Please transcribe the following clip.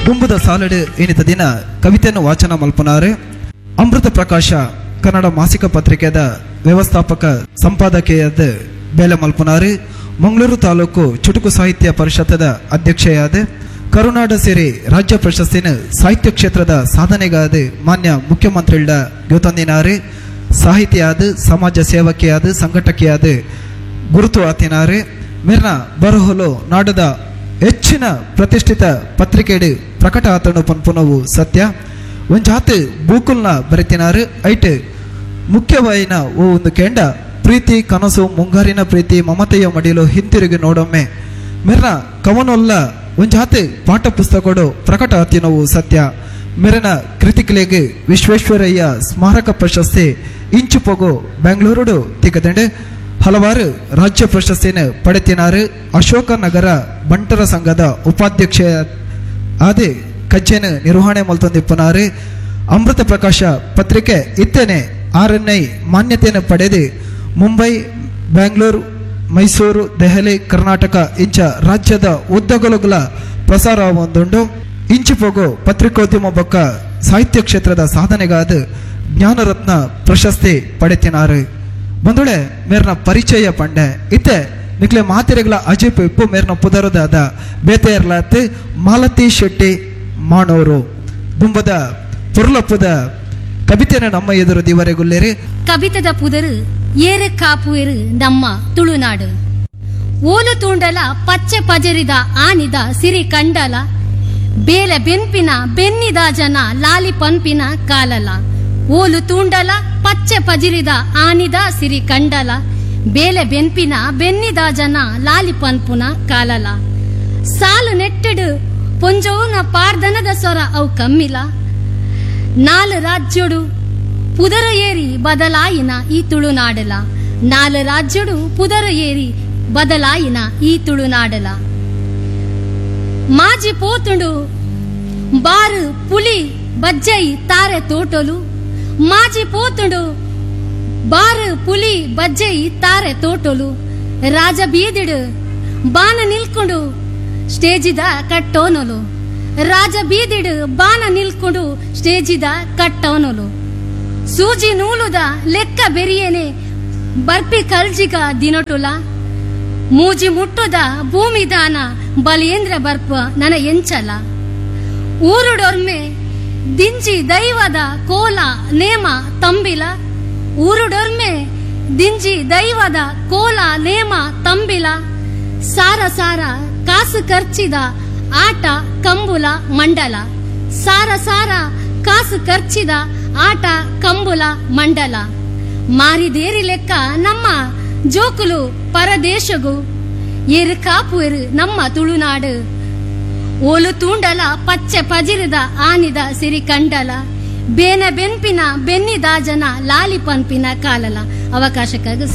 ದುಂಬುದ ಸಾಲಡು ಏನಿತ ದಿನ ಕವಿತೆಯನ್ನು ವಾಚನ ಮಲ್ಪನಾರು ಅಮೃತ ಪ್ರಕಾಶ ಕನ್ನಡ ಮಾಸಿಕ ಪತ್ರಿಕೆದ ವ್ಯವಸ್ಥಾಪಕ ಸಂಪಾದಕಿಯಾದ ಬೇಲೆ ಮಲ್ಪನಾರು ಮಂಗಳೂರು ತಾಲೂಕು ಚುಟುಕು ಸಾಹಿತ್ಯ ಪರಿಷತ್ತದ ಅಧ್ಯಕ್ಷೆಯಾದ ಕರುನಾಡ ಸೇರಿ ರಾಜ್ಯ ಪ್ರಶಸ್ತಿನ ಸಾಹಿತ್ಯ ಕ್ಷೇತ್ರದ ಸಾಧನೆಗಾದ ಮಾನ್ಯ ಮುಖ್ಯಮಂತ್ರಿಗಳ ಗೊತ್ತೊಂದಿನಾರು ಸಾಹಿತಿಯಾದ ಸಮಾಜ ಸೇವಕಿಯಾದ ಸಂಘಟಕಿಯಾದ ಗುರುತು ಆತಿನಾರು ಮಿರ್ನ ಬರಹುಲು ನಾಡದ ಹೆಚ್ಚಿನ ಪ್ರತಿಷ್ಠಿತ ಪತ್ರಿಕೆಡು ಪ್ರಕಟ ಆತನು ಪನ್ಪುನವು ಸತ್ಯ ಒಂಜಾತ್ ಬೂಕುಲ್ನ ಬರಿತಿನಾರು ಐಟ್ ಮುಖ್ಯವಾಯಿನ ಓ ಒಂದು ಕೆಂಡ ಪ್ರೀತಿ ಕನಸು ಮುಂಗಾರಿನ ಪ್ರೀತಿ ಮಮತೆಯ ಮಡಿಲು ಹಿಂತಿರುಗಿ ನೋಡೊಮ್ಮೆ ಮಿರ್ನ ಕವನೊಲ್ಲ ಒಂಜಾತ್ ಪಾಠ ಪುಸ್ತಕಡು ಪ್ರಕಟ ಆತಿನವು ಸತ್ಯ ಮಿರನ ಕೃತಿಕಲೆಗೆ ವಿಶ್ವೇಶ್ವರಯ್ಯ ಸ್ಮಾರಕ ಪ್ರಶಸ್ತಿ ಇಂಚುಪೊಗು ಬೆಂಗಳೂರುಡು ತಿಕ್ಕದಂಡೆ ಹಲವಾರು ರಾಜ್ಯ ಪ್ರಶಸ್ತಿಯನ್ನು ಪಡೆತಿನಾರು ಅಶೋಕ ನಗರ ಬಂಟರ ಸಂಘದ ಉಪಾಧ್ಯಕ್ಷ ಆದಿ ಕಜ್ಜೆನ ನಿರ್ವಹಣೆ ಮಲ್ತೊಂದಿಪ್ಪನಾರು ಅಮೃತ ಪ್ರಕಾಶ ಪತ್ರಿಕೆ ಇತ್ತನೆ ಆರ್.ಎನ್.ಐ ಮಾನ್ಯತೆಯನ್ನು ಪಡೆದು ಮುಂಬೈ, ಬೆಂಗಳೂರು, ಮೈಸೂರು, ದೆಹಲಿ, ಕರ್ನಾಟಕ ಇಂಚ ರಾಜ್ಯದ ಉದ್ದಗಲುಗಳ ಪ್ರಸಾರ ಒಂದುಂಡು. ಇಂಚಿಪೋಗು ಪತ್ರಿಕೋದ್ಯಮ ಬೊಕ್ಕ ಸಾಹಿತ್ಯ ಕ್ಷೇತ್ರದ ಸಾಧನೆಗಾದ ಜ್ಞಾನರತ್ನ ಪ್ರಶಸ್ತಿ ಪಡೆತಿನಾರು. ಬಂಧುಳೆ ಮೇರ್ನ ಪರಿಚಯ ಪಂಡೆ ಇತ್ತೆ ನಿಕ್ಲೆ ಮಾತಿರೆಗಳ ಅಜೀಪ್ ಇಪ್ಪು ಮೇರ್ನ ಪುದರುದಾದ ಬೇತೆಯರ್ಲಾತ್ ಮಾಲತಿ ಶೆಟ್ಟಿ ಮಾಣೋರು ದುಂಬದ ಪೊರ್ಲಪ್ಪುದ ಕವಿತೆನ ನಮ್ಮ ಎದುರು ದಿವರೆಗುಲ್ಲೇರಿ. ಕವಿತದ ಪುದರು ಏರು ಕಾಪುವೆರು ನಮ್ಮ ತುಳುನಾಡು. ಓಲು ತೂಂಡಲ ಪಚ್ಚೆ ಪಜರಿದ ಆನಿದ ಸಿರಿ ಕಂಡಲ, ಬೇಲೆ ಬೆನ್ಪಿನ ಬೆನ್ನಿದ ಜನ ಲಾಲಿ ಪನ್ಪಿನ ಕಾಲಲ. ಓಲು ತೂಂಡಲ ಪಚ್ಚೆ ಪಜಿರಿದ ಆನಿದ ಸಿರಿ ಕಂಡಲ, ಬೇಲೆ ಬೆನ್ಪಿನ ಬೆನ್ನಿದ ಜನ ಲಾಲಿ ಪನ್ಪುನ ಕಾಲಲ. ಸಾಲು ನೆಟ್ಟಡು ಪೊಂಜೋನ ಪಾರ್ದನದ ಸೊರ ಅವು ಕಮ್ಮಿಲ. ನಾಲು ರಾಜ್ಯೋಡು ಪುದರ ಏರಿ ಬದಲಾಯಿನ ಈ ತುಳುನಾಡಲ. ನಾಲು ರಾಜ್ಯೋಡು ಪುದರ ಏರಿ ಬದಲಾಯಿನ ಈ ತುಳುನಾಡಲ. ಮಾಜಿ ಪೋತುಂಡು ಬಾರು ಪುಲಿ ಬಜ್ಜೈ ತಾರೆ ತೋಟಲು. ಮಾಜಿ ಪೋತುಂಡು ಬಾರು ಪುಲಿ ಬಜ್ಜೈ ತಾರೆ ತೋಟಲು. ರಾಜ ಬೀದಿಡು ಬಾನ ನಿಲ್ಕೊಂಡು ಸ್ಟೇಜಿದ ಕಟ್ಟೋನಲು. ರಾಜ ಬೀದಿಡು ಬಾನ ನಿಲ್ಕೊಂಡು ಸ್ಟೇಜಿದ ಕಟ್ಟೋನಲು. ಸೂಜಿ ನೂಲುದ ಲೆಕ್ಕ ಬೆರಿಯೇನೆ ಬರ್ಪಿ ಕಲ್ಜಿಗ ದಿನಟುಲ. ಮೂಜಿ ಮುಟ್ಟುದ ಭೂಮಿದಾನ ಬಲಿಯೇಂದ್ರ ಬರ್ಪ ನನ ಎಂಚಲ. ಊರುಡೊರ್ಮೆ ದಿಂಜಿ ದೈವದ ಕೋಲ ನೇಮ ತಂಬಿಲ. ಊರುಡೊರ್ಮೆ ದಿಂಜಿ ದೈವದ ಕೋಲ ನೇಮ ತಂಬಿಲ. ಸಾರ ಸಾರ ಕಾಸು ಖರ್ಚಿದ ಆಟ ಕಂಬುಲ ಮಂಡಲ. ಸಾರ ಸಾರ ಕಾಸು ಖರ್ಚಿದ ಆಟ ಕಂಬುಲ ಮಂಡಲ. ಮಾರಿದೇರಿ ಲೆಕ್ಕ ನಮ್ಮ ಜೋಕುಲು ಪರದೇಶಗು ಏರು ಕಾಪುವೆರು ನಮ್ಮ ತುಳುನಾಡು. ಓಲು ತೂಂಡಲ ಪಚ್ಚೆ ಪಜಿರಿದ ಆನಿದ ಸಿರಿ ಕಂಡಲ, ಬೇನ ಬೆನ್ಪಿನ ಬೆನ್ನಿದ ಜನ ಲಾಲಿ ಪನ್ಪಿನ ಕಾಲಲ. ಅವಕಾಶಕ್ಕಾಗಿ